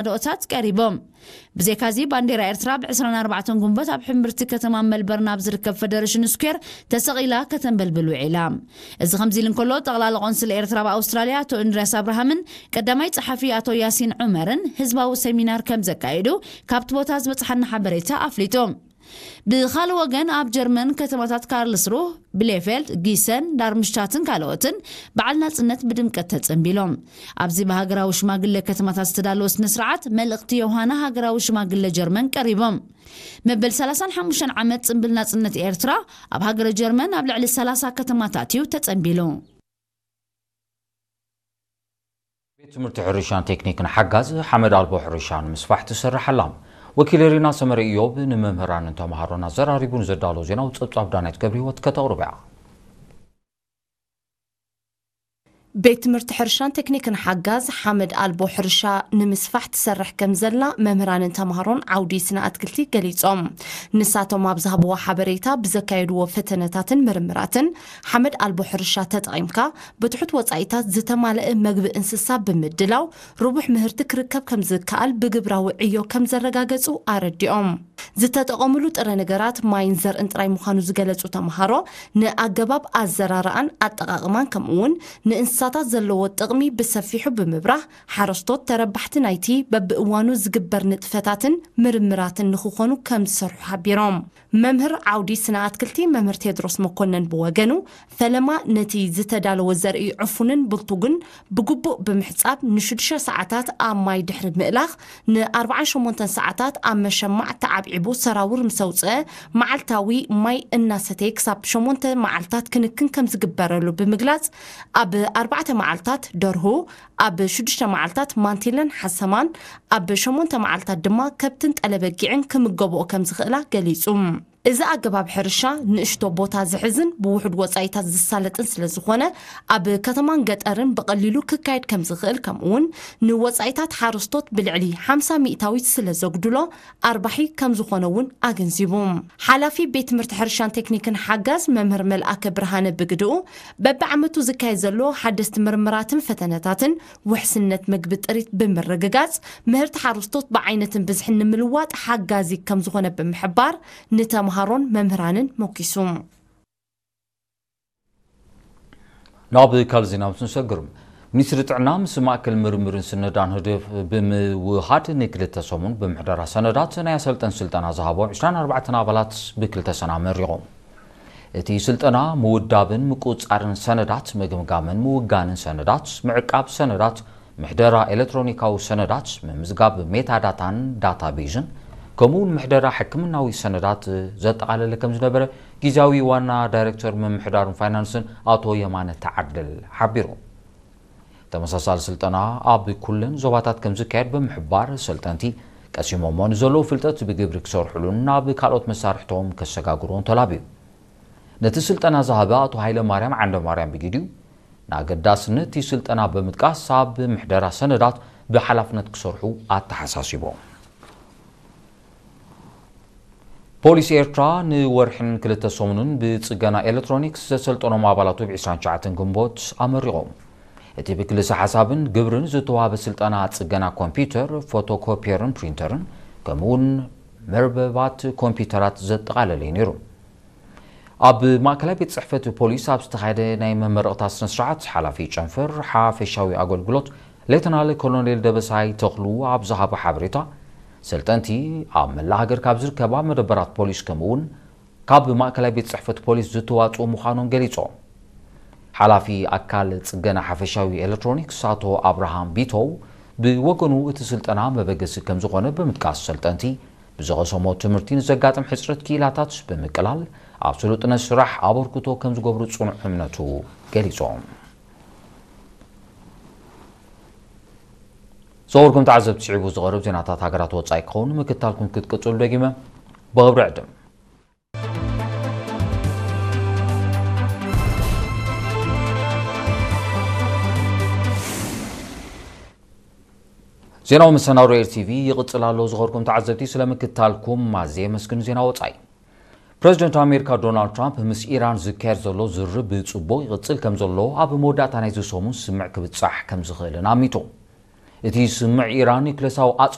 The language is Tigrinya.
መሰናድኦታት ቀሪቦም። ብዘይካዚ፣ ባንዴራ ኤርትራ ብ ዕስራን ኣርባዕተን ግንቦት ኣብ ሕምብርቲ ከተማ መልበርን ኣብ ዝርከብ ፈደረሽን ስኩዌር ተሰቒላ ከተንበልብል ውዒላ። እዚ ከምዚ ኢሉ እንከሎ፣ ጠቕላሊ ቆንስል ኤርትራ ኣብ ኣውስትራልያ ኣቶ እንድርያስ ኣብርሃምን ቀዳማይ ጸሓፊ ኣቶ ያሲን ዑመርን ህዝባዊ ሰሚናር ከም ዘካየዱ ካብቲ ቦታ ዝበጽሓና ሓበሬታ ኣፍሊጡ። ብኻልእ ወገን፣ ኣብ ጀርመን ከተማታት ካርልስሩህ፣ ብሌፌልድ፣ ጊሰን፣ ዳርምሽታትን ካልኦትን በዓል ናጽነት ብድምቀት ተጸንቢሎም። ኣብዚ ብሃገራዊ ሽማግለ ከተማታት ዝተዳለወ ስነ ስርዓት፣ መልእኽቲ ዮሃና ሃገራዊ ሽማግለ ጀርመን ቀሪቦም። መበል ሰላሳን ሓሙሽተን ዓመት ጽንብል ናጽነት ኤርትራ ኣብ ሃገረ ጀርመን ኣብ ልዕሊ ሰላሳ ከተማታት እዩ ተጸንቢሉ። ቤት ትምህርቲ ሕርሻን ቴክኒክን ሓጋዝ ሓመድ ኣልቦ ሕርሻ ንምስፋሕ ትሰርሕ ኣላ። ወኪል ሪና ሰመረ ኢዮብ ንመምህራንን ተምሃሮን ኣዘራሪቡ ንዘዳሎ ዜናዊ ጸብጻብ ዳናይት ገብረ ህይወት ከተቕርብ እያ። ቤት ትምህርቲ ሕርሻን ቴክኒክን ሓጋዝ ሓመድ ኣልቦ ሕርሻ ንምስፋሕ ትሰርሕ ከም ዘላ መምህራንን ተምሃሮን ዓውዲ ስነ ኣትክልቲ ገሊጾም። ንሳቶም ኣብ ዝሃብዎ ሓበሬታ፣ ብዘካየድዎ ፈተነታትን ምርምራትን ሓመድ ኣልቦ ሕርሻ ተጠቒምካ ብትሑት ወጻኢታት ዝተማልአ መግቢ እንስሳ ብምድላው ርቡሕ ምህርቲ ክርከብ ከም ዝከኣል ብግብራዊ ዕዮ ከም ዘረጋገጹ ኣረዲኦም። ዝተጠቐምሉ ጥረ ነገራት ማይን ዘርእን ጥራይ ምዃኑ ዝገለጹ ተምሃሮ፣ ንኣገባብ ኣዘራርኣን ኣጠቓቕማን ከምኡ'ውን ንእንስሳታት ዘለዎ ጥቕሚ ብሰፊሑ ብምብራህ፣ ሓረስቶት ተረባሕቲ ናይቲ በብእዋኑ ዝግበር ንጥፈታትን ምርምራትን ንኽኾኑ ከም ዝሰርሑ ሓቢሮም። መምህር ዓውዲ ስነ ኣትክልቲ መምህር ቴድሮስ መኮነን ብወገኑ፣ ፈለማ ነቲ ዝተዳለወ ዘርኢ ዕፉንን ብልቱግን ብግቡእ ብምሕጻብ፣ ንሽዱሽተ ሰዓታት ኣብ ማይ ድሕሪ ምእላኽ፣ ንኣርባዓን ሸሞንተን ሰዓታት ኣብ መሸማዕ ተዓብዒቡ ሰራውር ምስ ኣውጽአ፣ መዓልታዊ ማይ እናሰተየ ክሳብ ሸሞንተ መዓልታት ክንክን ከም ዝግበረሉ ብምግላጽ፣ ኣብ ኣርባዕተ መዓልታት ደርሁ፣ ኣብ ሽዱሽተ መዓልታት ማንቲለን ሓሰማን፣ ኣብ ሸሞንተ መዓልታት ድማ ከብትን ጠለበጊዕን ክምገብኦ ከም ዝኽእላ ገሊጹ። እዚ ኣገባብ ሕርሻ ንእሽቶ ቦታ ዝሕዝን ብውሑድ ወጻኢታት ዝሳለጥን ስለ ዝኾነ፣ ኣብ ከተማን ገጠርን ብቐሊሉ ክካየድ ከም ዝኽእል፣ ከምኡ'ውን ንወጻኢታት ሓረስቶት ብልዕሊ ሓምሳ ሚእታዊት ስለ ዘጉድሎ፣ ኣርባሒ ከም ዝኾነ እውን ኣገንዚቡ። ሓላፊ ቤት ትምህርቲ ሕርሻን ቴክኒክን ሓጋዝ መምህር መልኣከ ብርሃነ ብግድኡ፣ በብዓመቱ ዝካየድ ዘሎ ሓደስቲ ምርምራትን ፈተነታትን ውሕስነት ምግቢ ጥሪት ብምርግጋጽ፣ ምህርቲ ሓረስቶት ብዓይነትን ብዝሕን ንምልዋጥ ሓጋዚ ከም ዝኾነ ብምሕባር፣ ንተምሃሮን መምህራንን ሞኪሱ። ናብ ካልእ ዜና ምስ ንሰግር፣ ሚኒስትሪ ጥዕና ምስ ማእከል ምርምርን ስነዳን ህደፍ ብምውሃድ ንክልተ ሰሙን ብምሕደራ ሰነዳት ናይ ኣሰልጠን ስልጠና ዝሃቦ ዕስራን ኣርባዕተን ኣባላት ብክልተ ሰና መሪቖም። እቲ ስልጠና ምውዳብን ምቁጽጻርን ሰነዳት፣ ምግምጋምን ምውጋንን ሰነዳት፣ ምዕቃብ ሰነዳት፣ ምሕደራ ኤሌክትሮኒካዊ ሰነዳት፣ ምምዝጋብ ሜታዳታን ዳታቤዝን፣ ከምኡውን ምሕደራ ሕክምናዊ ሰነዳት ዘጠቓለለ ከም ዝነበረ ግዝያዊ ዋና ዳይሬክተር ምምሕዳርን ፋይናንስን ኣቶ የማነ ተዓደል ሓቢሩ። ተመሳሳሊ ስልጠና ኣብ ኩለን ዞባታት ከም ዝካየድ ብምሕባር፣ ሰልጠንቲ ቀሲሞሞ ንዘለዉ ፍልጠት ብግብሪ ክሰርሕሉን ናብ ካልኦት መሳርሕቶም ከሰጋግሩን ተላብዩ። ነቲ ስልጠና ዝሃበ ኣቶ ሃይለ ማርያም ዓንደ ማርያም ብጊዲኡ፣ ንኣገዳስነት እቲ ስልጠና ብምጥቃስ፣ ኣብ ምሕደራ ሰነዳት ብሓላፍነት ክሰርሑ ኣተሓሳሲቦም። ፖሊስ ኤርትራ ንወርሕን ክልተ ሰሙንን ብጽገና ኤሌክትሮኒክስ ዘሰልጠኖም ኣባላቱ ብ ዕስራን ትሽዓተን ግንቦት ኣመሪቖም። እቲ ብክልሰ ሓሳብን ግብርን ዝተዋህበ ስልጠና ጽገና ኮምፒውተር፣ ፎቶኮፒየርን ፕሪንተርን፣ ከምኡውን መርበባት ኮምፒውተራት ዘጠቓለለ እዩ ነይሩ። ኣብ ማእከላይ ቤት ጽሕፈት ፖሊስ ኣብ ዝተኻየደ ናይ መመረቕታ ስነ ስርዓት፣ ሓላፊ ጨንፈር ሓፈሻዊ ኣገልግሎት ሌተናል ኮሎኔል ደበሳይ ተኽሉ ኣብ ዝሃቦ ሓበሬታ፣ ሰልጠንቲ ኣብ መላእ ሃገር ካብ ዝርከባ መደበራት ፖሊስ ከምኡውን ካብ ማእከላይ ቤት ጽሕፈት ፖሊስ ዝተዋጽኡ ምዃኖም ገሊጾም። ሓላፊ ኣካል ጽገና ሓፈሻዊ ኤሌክትሮኒክስ ኣቶ ኣብርሃም ቢቶው ብወገኑ፣ እቲ ስልጠና መበገሲ ከም ዝኾነ ብምጥቃስ፣ ሰልጠንቲ ብዝቐሰሞ ትምህርቲ ንዘጋጥም ሕጽረት ክኢላታት ብምቅላል፣ ኣብ ስሉጥነት ስራሕ ኣበርክቶ ከም ዝገብሩ ጽኑዕ እምነቱ ገሊጾም። ዝኸበርኩም ተዓዘብቲ፣ ስዒቡ ዝቐርብ ዜናታት ሃገራት ወጻኢ ክኸውን ምክታልኩም ክትቅጽሉ ደጊመ ብኽብሪ ዕድም። ዜናዊ መሰናዶ ኤር ቲ ቪ ይቕጽል ኣሎ። ዝኸበርኩም ተዓዘብቲ፣ ስለ ምክታልኩም ኣዝየ የመስግን። ዜና ወጻኢ። ፕረዚደንት ኣሜሪካ ዶናልድ ትራምፕ ምስ ኢራን ዝካየድ ዘሎ ዝርርብ ብጽቡቕ ይቕጽል ከም ዘሎ ኣብ መወዳእታ ናይዚ ሰሙን ስምዕ ክብጻሕ ከም ዝኽእልን ኣሚቱ። እቲ ስምዕ ኢራን ኒውክለሳዊ